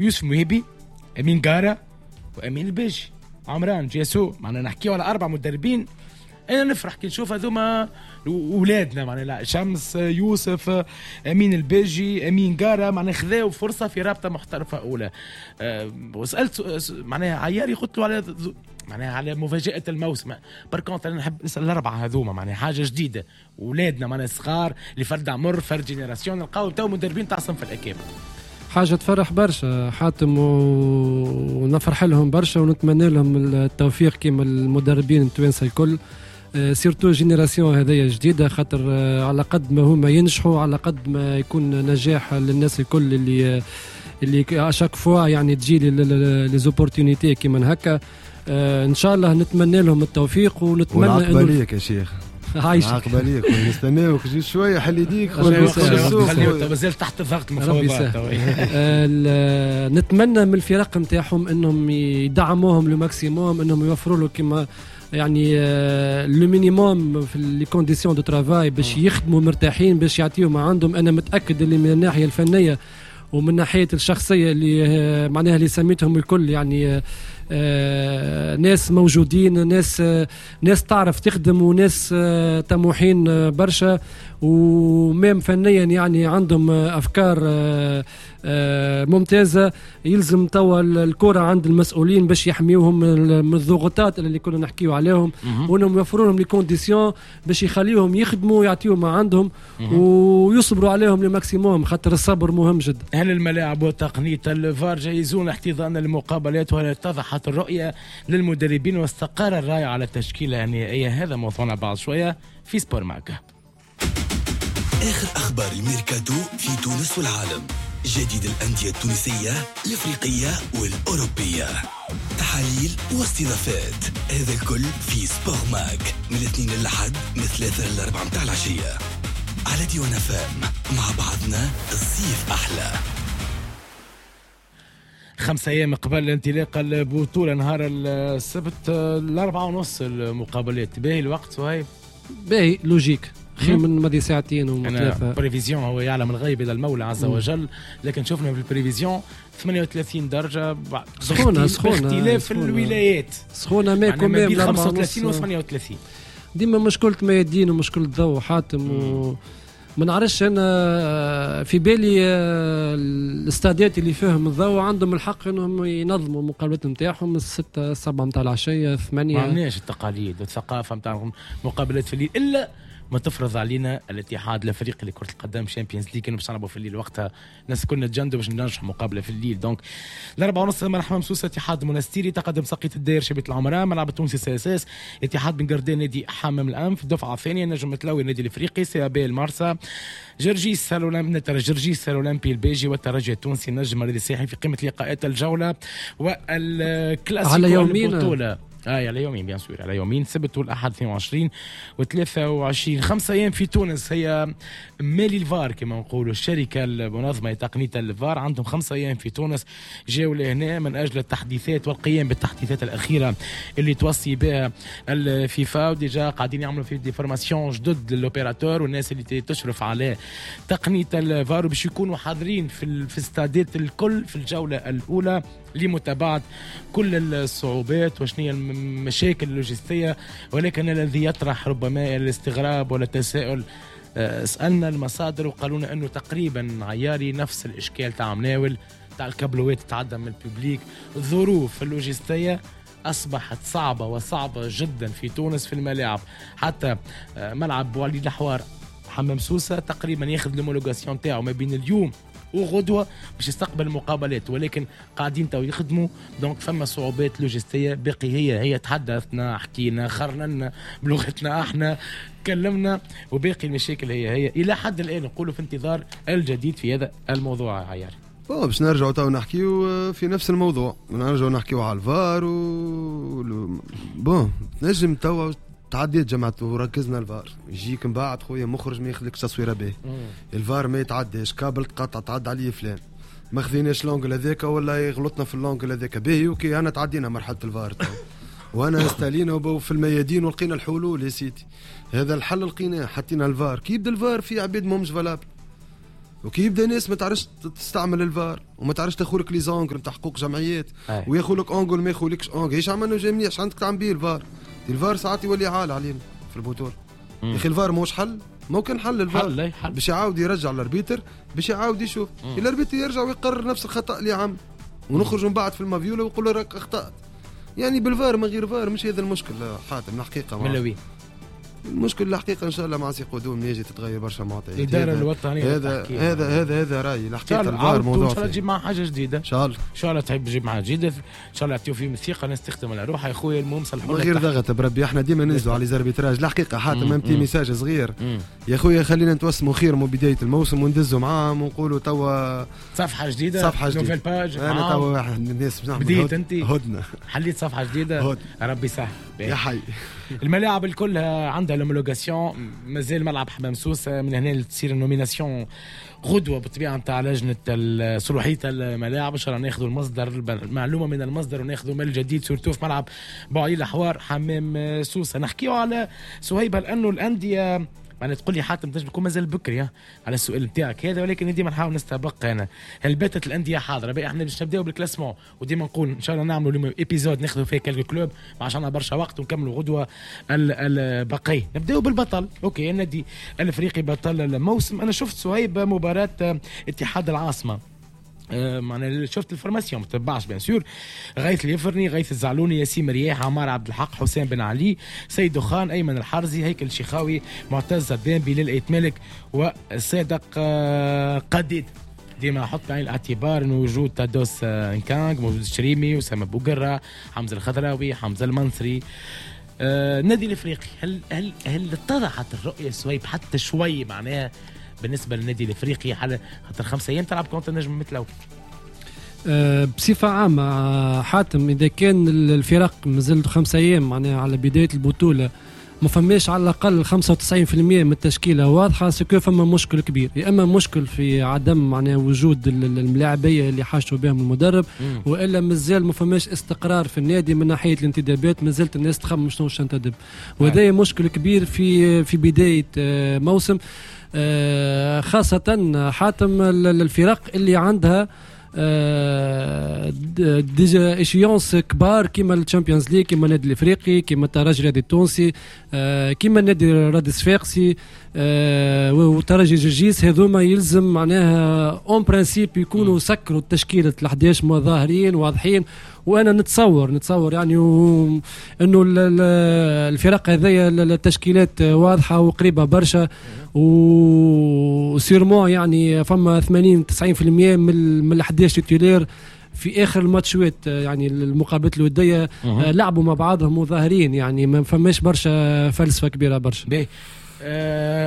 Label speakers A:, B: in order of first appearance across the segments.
A: يوسف مهيبي، امين قارة، وامين الباجي، عمران جيسو. معنا نحكيو على اربع مدربين. انا نفرح كي نشوف هذوما اولادنا، معناها شمس، يوسف، امين الباجي، امين قارة، معناها خذاو فرصة في رابطه محترفه اولى. وسالت معناها عياري، قلت له على معناها على مفاجاة الموسم. par contre انا نحب نسال الاربعة هذوما، معناها حاجة جديده، اولادنا معناها صغار اللي فرد عمر، فرد génération، نلقاو تو مدربين تاع صنف الاكابر.
B: حاجة تفرح برشا حاتم، ونفرح لهم برشا ونتمنى لهم التوفيق كيما المدربين التوانسة الكل، surtout génération هذيا جديده، خاطر على قد ما هما ينجحوا على قد ما يكون نجاح للناس الكل اللي à chaque fois يعني تجي les opportunités كيما هكا. ان شاء الله نتمنى لهم التوفيق ونتمنى
C: انه ليك يا شيخ.
B: عايشك.
C: عاقبة ليك، نستناوك جي شويه، حل يديك.
A: مازال تحت ضغط المفاوضات.
B: نتمنى من الفرق نتاعهم انهم يدعموهم le maximum، انهم يوفروا له كما يعني le minimum في les conditions de travail باش يخدموا مرتاحين، باش يعطيهم ما عندهم. انا متاكد اللي من الناحية الفنية ومن ناحية الشخصية اللي معناها اللي سميتهم الكل يعني ناس موجودين، ناس تعرف تخدم وناس طموحين برشا، و même فنيا يعني عندهم افكار ممتازه. يلزم توا الكره عند المسؤولين باش يحميوهم من الضغوطات اللي كنا نحكيو عليهم، وانهم يوفروا لهم les conditions باش يخليهم يخدموا ويعطيهم ما عندهم ويصبروا عليهم le maximum، خاطر الصبر مهم جدا.
A: هل الملاعب وتقنية الفار جاهزون لاحتضان المقابلات؟ وهل اتضحت الرؤية للمدربين واستقر الرأي على التشكيلة النهائية؟ هذا موضوعنا بعد شوية في سبور ماك.
D: آخر أخبار الميركاتو في تونس والعالم، جديد الأندية التونسية، الإفريقية والأوروبية، تحاليل واستضافات، هذا الكل في سبور ماك من الاثنين للأحد من 3 ل4 متاع العشية على ديوان أف أم. مع بعضنا الصيف أحلى.
A: 5 أيام قبل انطلاق البطولة، نهار السبت 4:30 المقابلات. باهي الوقت وهي
B: باهي، logique، خير من ماضي ساعتين
A: وثلاثة. prévision هو يعلم الغيب إلا المولى عز وجل، لكن شفنا في ال prévision 38 درجة.
B: سخونة سخونة.
A: باختلاف الولايات.
B: سخونة mais
A: quand ما بين 35 و 38.
B: ديما مشكلة ميادين ومشكلة ضوء حاتم، و ما نعرفش، انا في بالي الاستادات اللي فيهم الضوء عندهم الحق انهم ينظموا المقابلات نتاعهم 6، 7 نتاع العشيه، 8.
A: ما عندناش التقاليد والثقافة نتاع مقابلات في الليل، الا ما تفرض علينا الاتحاد الافريقي لكرة القدم، Champions League، كانوا باش نلعبوا في الليل، وقتها الناس كنا نتجندوا باش ننجحوا مقابله في الليل. donc 4:30 ملعب سوسة اتحاد منستيري، تقدم ساقية الداير شبيبة العمراء، ملعب التونسي CSS اتحاد بن قردان نادي حمام الانف. الدفعة الثانيه، نجم متلوي النادي الافريقي، CAB المارسا، جرجيس الاولمبي، جرجيس الاولمبي الباجي، والترجي التونسي النجم الرياضي الساحلي في قمة لقاءات الجولة والكلاسيكو.
B: على يومين.
A: البطولة على يومين، bien sûr على يومين، سبت والاحد، 22 و 23. 5 ايام في تونس هي مالي الفار، كما نقولوا الشركة المنظمة لتقنيه الفار، عندهم 5 ايام في تونس، جاوا لهنا من اجل التحديثات والقيام بالتحديثات الاخيرة اللي توصي بها الفيفا، و déjà قاعدين يعملوا في des formations جدد لل opérateurs والناس اللي تشرف على تقنية الفار، باش يكونوا حاضرين في استادات الكل في الجولة الاولى لمتابعة كل الصعوبات وشنو هي المشاكل اللوجستيه. ولكن الذي يطرح ربما الاستغراب ولا التساؤل، سالنا المصادر وقالوا لنا انه تقريبا عياري نفس الاشكال تاع مناول تاع الكابلوات تتعدى من ال public. الظروف اللوجستية اصبحت صعبة وصعبة جدا في تونس في الملاعب، حتى ملعب وليد الحوار حمام سوسة تقريبا ياخذ l'homologation تاعو ما بين اليوم وغدوه باش يستقبل المقابلات، ولكن قاعدين تو يخدموا، donc فما صعوبات لوجستية باقي هي هي. تحدثنا، حكينا، خرنا بلغتنا احنا، تكلمنا، وباقي المشاكل هي هي الى حد الان. نقولوا في انتظار الجديد في هذا الموضوع عيار.
C: bon، باش نرجعوا تو نحكيو في نفس الموضوع، نرجعوا نحكيو على الفار و bon نجم توا تعديت جمعت وركزنا الفار، يجيك من بعد خويا مخرج ما ياخذلكش تصويره به، الفار ما يتعداش، كابل تقطع، تعدى عليه فلان، ما خذيناش l'angle هذاك ولا غلطنا في l'angle هذاك. باهي OK، انا تعدينا مرحلة الفار وانا استالينا في الميادين ولقينا الحلول يا سيدي، هذا الحل لقيناه، حطينا الفار. كي يبدا الفار في عباد ماهمش valables. وكي يبدا ناس ما تعرفش تستعمل الفار وما تعرفش تاخذ لك les angles نتاع حقوق جمعيات وياخذ لك angle ما ياخذلكش angle، ايش عملنا جاي مليح، عندك تعمل بيه الفار؟ الفار ساعات يولي عال علينا في البطولة. يا اخي الفار ماهوش حل، ممكن حل الفار حل باش يعاود يرجع ال arbitre، باش يعاود يشوف ال arbitre يرجع ويقرر نفس الخطا اللي عمل، ونخرج من بعد في المافيولا ويقول راك اخطات. يعني بالفار من غير فار مش هذا المشكل حاتم الحقيقة.
A: من
C: المشكل الحقيقة ان شاء الله مع سي قدوم يجي تتغير برشا معطيات.
A: الادارة الوطنية
C: هذا هذا هذا هذا رايي الحقيقة. الفار موضوع
A: ان شاء الله تجيب معاه حاجة جديدة،
C: ان شاء الله،
A: ان شاء الله تحب تجيب معاه جديدة، ان شاء الله يعطيو فيهم الثقة، الناس تخدم على روحها يا خويا. المهم صلحوا
C: من غير ضغط بربي، احنا ديما ننزلوا على les arbitrages الحقيقة حاتم. un petit message صغير يا خويا، خلينا نتوسموا خير من بداية الموسم وندزوا معاهم ونقولوا توا
A: صفحة جديدة،
C: صفحة جديدة،
A: nouvelle page.
C: انا توا واحد من الناس باش نعمل
A: بديت انت
C: هدنة،
A: حليت صفحة جديدة، ربي يسهل
C: يا حي.
A: الملاعب الكل عندها l'homologation، مازال ملعب حمام سوسة من هنا تصير ال nomination غدوه بالطبيعة نتاع لجنة صلاحية الملاعب. ان شاء الله ناخذوا المصدر، المعلومة من المصدر وناخذوا من الجديد surtout في ملعب بوعلي الحوار حمام سوسة. نحكيو على سهيبه لانه الاندية معناها تقول لي حاتم تنجم تكون مازال بكري على السؤال نتاعك هذا، ولكن ديما نحاول نستبق انا. هل باتت الاندية حاضره؟ باقي احنا باش نبداو بال classement، وديما نقول ان شاء الله نعملوا اليوم épisode ناخذوا فيه quelques clubs عشان برشا وقت ونكملوا غدوه البقية. نبداو بالبطل، OK النادي الافريقي بطل الموسم. انا شفت صهيب مباراة اتحاد العاصمة، معناها شفت ال formation ما تبعش bien sûr، غيث اليفرني، غيث الزعلوني، ياسين مرياح، عمار عبد الحق، حسين بن علي، سيد دخان، ايمن الحرزي، هيكل شيخاوي، معتز الدين، بلال ايت مالك، وصادق قديد. ديما احط بعين الاعتبار انه وجود تادوس انكانغ، موجود الشريمي، اسامة بوقره، حمزة الخضراوي، حمزة المنصري. النادي الافريقي هل هل هل اتضحت الرؤية سويب حتى شوي معناها بالنسبة للنادي الافريقي على خاطر 5 ايام تلعب contre النجم مثله؟
B: بصفة عامة حاتم، اذا كان الفرق مازالت 5 ايام معناها على بداية البطولة ما فماش على الاقل 95% من التشكيلة واضحة، ce que فما مشكل كبير، يا اما مشكل في عدم معناها وجود الملاعبيه اللي حاجته بهم المدرب، والا مازال ما فماش استقرار في النادي من ناحية الانتدابات، مازالت الناس تخمم شنو تنتدب، وهذا مشكل كبير في بداية موسم، خاصة حاتم الفرق اللي عندها des échéances كبار كيما ال Champions League، كيما النادي الافريقي، كيما الترجي الرياضي التونسي، كيما النادي الرياضي الصفاقسي، وترجي جرجيس. هذوما يلزم معناها en principe يكونوا سكروا التشكيلة ال11 مظاهرين واضحين، وانا نتصور يعني انه الفرق هذيا التشكيلات واضحة وقريبه برشا، و sûrement يعني فما 80-90% من ال11 titulaires في اخر الماتشات، يعني المقابلات الودية لعبوا مع بعضهم وظاهرين، يعني ما فماش برشا فلسفة كبيرة برشا.
A: باهي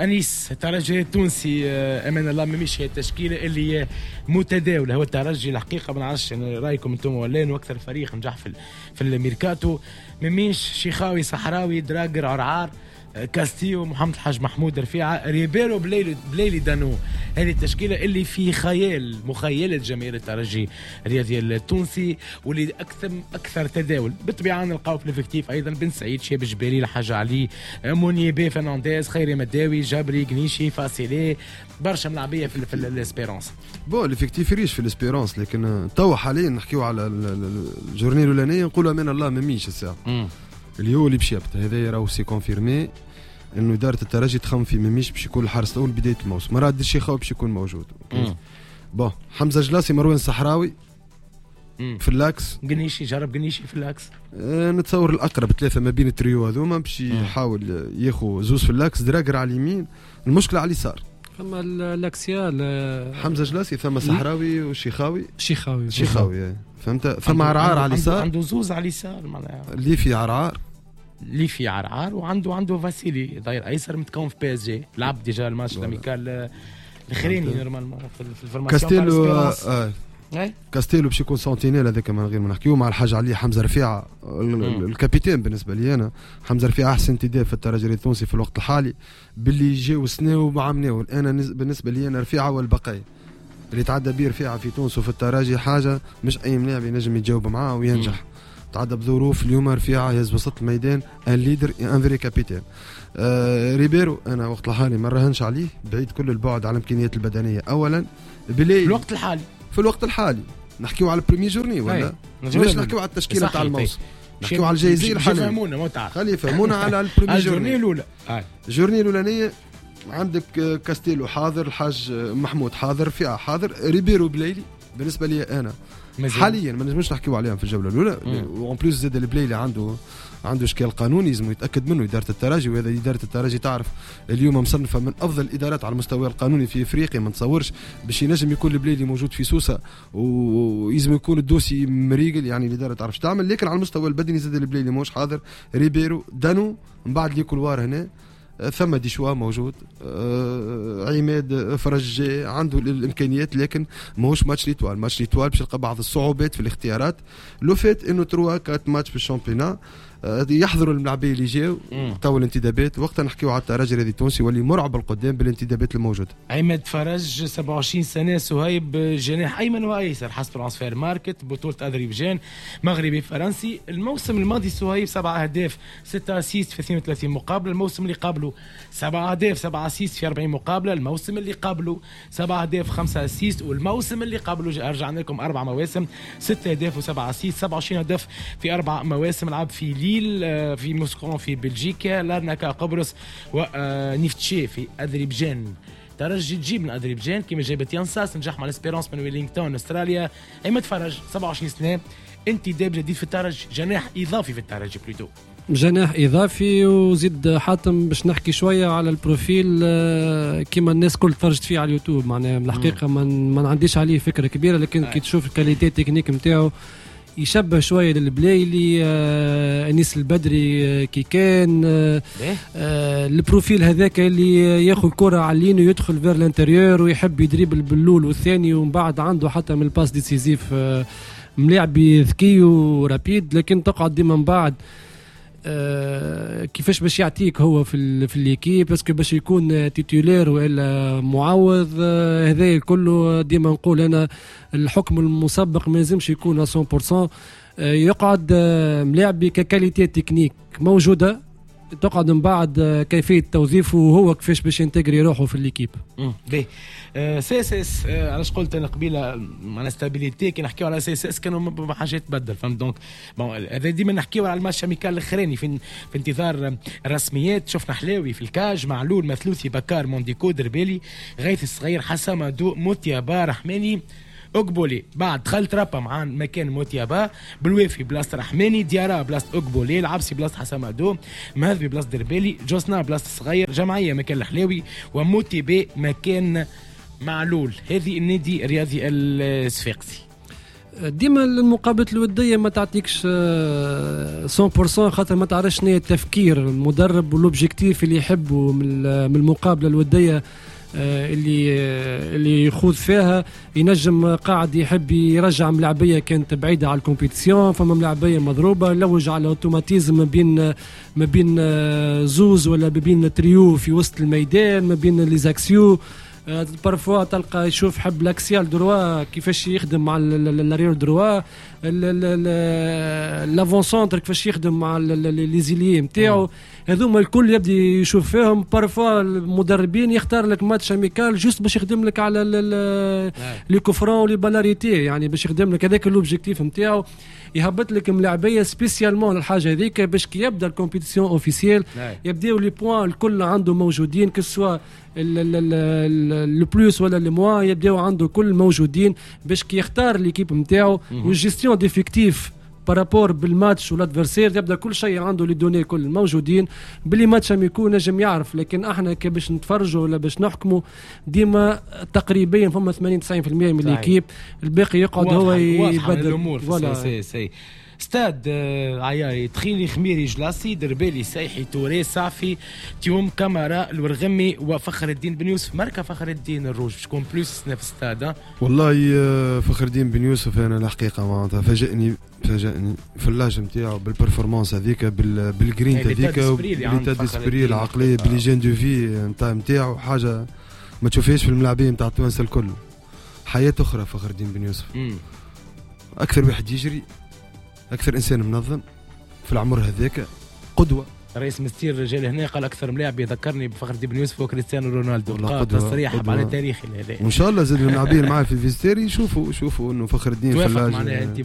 A: انيس، الترجي التونسي امان الله مش هي التشكيلة اللي متداوله. هو الترجي الحقيقة ما نعرفش رايكم انتم ولا، واكثر فريق نجح في الميركاتو. مميش، شيخاوي، صحراوي، دراجر، عرعار، كاستيو، محمد الحاج محمود، رفيعة، ريبيرو، بليلي دانو. هذه التشكيلة اللي في خيال مخيلة جماهير الترجي الرياضي التونسي واللي اكثر تداول. بالطبيعة نلقاو في l'effectif ايضا بن سعيد، شاب جبالي، الحاج علي، مونيبي، فرنانديز، خيري مداوي، جابري، قنيشي، فاسيلي، برشا ملاعبيه في ال Espérance.
C: bon l'effectif riche في ال Espérance، لكن توا حاليا نحكيو على ال journée الاولانية نقولوا امان الله مميش الساعة اللي هو اللي باش يبدا هذا راهو c'est confirmé انه ادارة الترجي تخمم في مميش باش يكون الحارس الاول بداية الموسم، مراد الشيخاوي باش يكون موجود. bon حمزة جلاسي، مروان صحراوي في l'axe،
A: قنيشي، جرب قنيشي في l'axe.
C: نتصور الاقرب ثلاثة ما بين التريو هذوما باش يحاول ياخذ زوز في l'axe، دراجر على اليمين، المشكلة على اليسار
B: فما l'axial
C: حمزة جلاسي، ثم صحراوي وشيخاوي. شيخاوي فهمت، ثم عرعار على اليسار،
A: عنده زوز على اليسار معناها
C: اللي في عرعار،
A: اللي في عرعار، وعنده فاسيلي ظهير ايسر متكون في PSG، لعب déjà ال match amical الاخراني normalement في ال formation.
C: كاستيلو كاستيلو باش يكون sentinelle هذاك من غير ما نحكيو، مع الحاج علي، حمزة رفيعة ال capitaine. بالنسبة لي انا حمزة رفيعة احسن انتداب في الترجي التونسي في الوقت الحالي باللي جاو سنة وعمناو. انا بالنسبة لي انا رفيعة والبقية اللي تعدى بيه رفيعة في تونس وفي الترجي حاجة مش اي ملاعب ينجم يتجاوب معاه وينجح. تعدى بظروف اليوم رفيعة يهز وسط الميدان، un leader، un vrai capitaine. ريبيرو انا وقت الحالي ما راهنش عليه، بعيد كل البعد على الامكانيات البدنية اولا.
A: بلايلي في
C: الوقت الحالي نحكيو على ال première journée ولا مش نحكيو على التشكيلة تاع الموسم، نحكيو على الجايزيه الحالية.
A: يفهمونا
C: خلي يفهمونا على ال première journée
A: الاولى.
C: ال journée الاولانية عندك كاستيلو حاضر، الحاج محمود حاضر، فئة حاضر، ريبيرو بلايلي بالنسبة لي انا حاليا ما نجمش نحكيو عليهم في الجولة الاولى. و en plus زاد البلايلي عنده اشكال قانوني لازم يتاكد منه ادارة الترجي، وهذا ادارة الترجي تعرف اليوم مصنفه من افضل الادارات على المستوى القانوني في افريقيا، ما نتصورش باش ينجم يكون البلايلي موجود في سوسة ويلزم يكون ال dossier مريقل، يعني الادارة تعرفش تعمل. لكن على المستوى البدني زاد البلايلي ماهوش حاضر. ريبيرو دانو من بعد les couloirs هنا ثم des choix موجود، عماد فرج عنده الامكانيات لكن ماهوش match l'Étoile. match l'Étoile باش يلقى بعض الصعوبات في الاختيارات، le fait انه 3 4 ماتش في ال championnat يحضروا الملاعبيه اللي جاو تو الانتدابات. وقتها نحكيو على الترجي الرياضي التونسي واللي مرعب القدام بالانتدابات الموجودة.
A: عماد فرج 27 سنة، سهيب جناح ايمن وايسر حسب Transfermarkt، بطوله اذربيجان، مغربي فرنسي. الموسم الماضي سهيب 7 اهداف 6 assists في 32 مقابله، الموسم اللي قبله 7 اهداف 7 assists في 40 مقابله، الموسم اللي قبله 7 اهداف 5 assists، والموسم اللي قبله رجعنا لكم 4 مواسم 6 اهداف و7 assists، 27 هدف في 4 مواسم. لعب في ليل، في موسكون في بلجيكا، لارناكا قبرص، ونيفتشي في أذربيجان. ترجي تجيب من أذربيجان كما جابت يانساس، نجح مع الاسبيرونس من ويلينغتون استراليا. عماد فرج 27 سنة، انتداب جديد في الترجي، جناح إضافي في الترجي plutôt،
B: جناح إضافي. وزيد حاتم باش نحكي شوية على ال profil كما الناس كل تفرجت فيه على اليوتيوب، معناها الحقيقة ما عنديش عليه فكرة كبيرة، لكن كي تشوف ال qualité technique نتاعو يشبه شوية للبلايلي، انيس البدري كي كان ال profil هذاك اللي ياخذ كره على ال ligne ويدخل vers l'intérieur ويحب يدريبل باللول والثاني، ومن بعد عنده حتى من ال passes décisives، ملاعب ذكي و rapide. لكن تقعد ديما من بعد كيفاش باش يعطيك هو في l'équipe، parce que باش يكون titulaire والا معوض، هذا كله ديما نقول انا الحكم المسبق ما لازمش يكون 100%. يقعد ملاعبي ك qualité technique موجودة، تقعد من بعد كيفية توظيفه وهو كيفاش باش ينتجري روحه في l'équipe.
A: باهي CSS علاش قلت انا قبيلة معناها stabilité، كي نحكيو على CSS كانوا حاجات تبدل، فهمت؟ donc bon هذا ديما نحكيو على ال match amical الاخراني في انتظار الرسميات. شفنا حلاوي في ال cage، معلول، مثلوثي، بكار، مونديكو، دربالي، غيث الصغير، حسام دو، موتيابا، رحماني، أقبولي. بعد دخل ترابا مع مكان موتيابا، بالوافي بلاصة رحماني، ديارا بلاصة أقبولي، العبسي بلاصة حسامادو، مهذبي بلاصة دربالي، جوسنا بلاصة صغير، جمعية مكان الحلاوي، وموتيبي مكان معلول. هذه النادي الرياضي الصفاقسي.
B: ديما المقابلات الودية ما تعطيكش 100%، خاطر ما تعرفش شنو التفكير المدرب وال objectif اللي يحبه من المقابلة الودية اللي يخوض فيها. ينجم قاعد يحب يرجع ملاعبيه كانت بعيدة على ال compétition، فما ملاعبيه مضروبة، لوج على automatisme ما بين زوز ولا ما بين تريو في وسط الميدان، ما بين les axiaux. parfois تلقى يشوف حب l'axial droit كيفاش يخدم مع l'arrière droit، l'avant-centre كيفاش يخدم مع les ailiers نتاعو، هذوما الكل يبدا يشوف فيهم. parfois المدربين يختار لك match amical juste باش يخدم لك على les coups francs و les balles arrêtées، يعني باش يخدم لك هذاك l'objectif نتاعو، يهبط لك ملاعبيه spécialement للحاجة هذيك باش كي يبدا ال compétition officielle يبداو les points الكل عنده موجودين، que ce soit le plus ولا le moins يبداو عنده كل موجودين باش كي يختار l'équipe نتاعو وال gestion d'effectif par rapport بال match وال adversaire يبدا كل شيء عنده les données كل موجودين ب les matchs amicaux نجم يعرف. لكن احنا كي باش نتفرجوا ولا باش نحكموا ديما تقريبا فما 80 90% من l'équipe، الباقي يقعد هو يبدل
A: الامور. سي سي ستاد عياري، تخيلي، خميري، جلاسي، دربالي، سايحي، توري، صافي، تيوم، كاميرا، الورغمي، وفخر الدين بن يوسف. ماركة فخر الدين الروج باش تكون plus في ستاد.
C: والله فخر الدين بن يوسف انا الحقيقة معناتها فاجئني في l'âge نتاعو بال performance هذيك، بالجرين هذيك، بال état d'esprit، العقلية، ب l'hygiène de vie نتاعو، حاجة ما تشوفهاش في الملاعبين نتاع التوانسة الكل. حياة اخرى فخر الدين بن يوسف. اكثر واحد يجري، اكثر انسان منظم في العمر هذاك، قدوه.
A: رئيس مستير جا هنا قال اكثر ملاعب يذكرني بفخر الدين بن يوسف وكريستيانو رونالدو، قال تصريح على تاريخي هذا.
C: وان شاء الله زاد اللاعبين معاه في ال vestiaire يشوفوا انه فخر الدين
A: توافق معناها انت؟